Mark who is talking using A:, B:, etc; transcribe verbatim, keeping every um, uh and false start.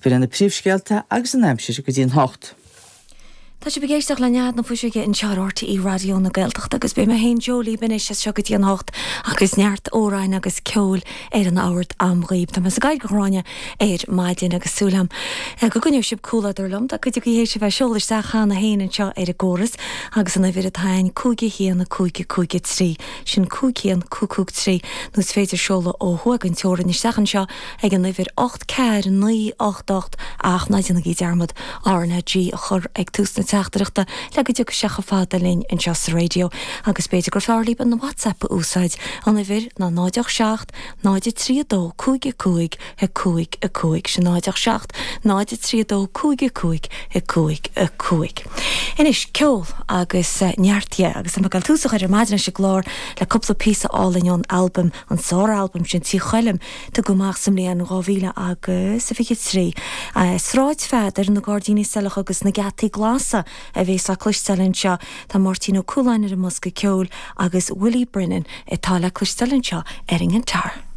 A: B'in na príomhscéalta agus an aimsir go dtí an hocht.
B: Tá sibh ag éisteacht le Nead na Fuiseoige anseo ar RTÉ Raidió na Gaeltachta agus beidh mé féin Joe libh anois as seo go dtí an hocht agus neart amhráin agus ceoil ar an ard am dhaoibh. Tá mé sa gCathaoir Ghráinne ar maidin agus súil agam go gcoinneoidh sibh comhluadar liom. Tá cuid agaibh théis a bheith ag seoladh isteach cheana féin anseo ar an gcóras agus an uimhir atá ann cúig a haon a cúig a cúig a trí sin cúig haon cúig cúig trí nó is féidir seoladh ó thuaidh den teorainn isteach anseo ag an uimhir ocht ceathair naoi ocht ocht ach ná déanaigí dearmad RnaG a chur ag tús na teachtaireachta le go dtiocfaidh sé chomh fada linn anseo sa raidió agus b'fhéidir gur fearr libh an WhatsApp a úsáid an uimhir ná náid ocht seacht náid a trí a dó cúig a cúig a cúig a cúig sin náid ocht seacht náid a trí a dó cúig a cúig a cúig a cúig. Anois ceol agus neart dhe agus tá mé ag dul tús a chur ar maidin leis an gclár le cúpla píosa álainn ón albam an sár-albam sin Tí Choilm tugadh amach sa mbliain dhá mhíle agus a fiche trí. Sráid Pheadair, na Gairdíní Saileacha agus na Geataí Glasa a bhéas á cloisteáil anseo. Tá Máirtín Ó Cualáin ar an mbosca ceoil agus Willie Brennan atá le cloisteáil anseo ar an ngiotár.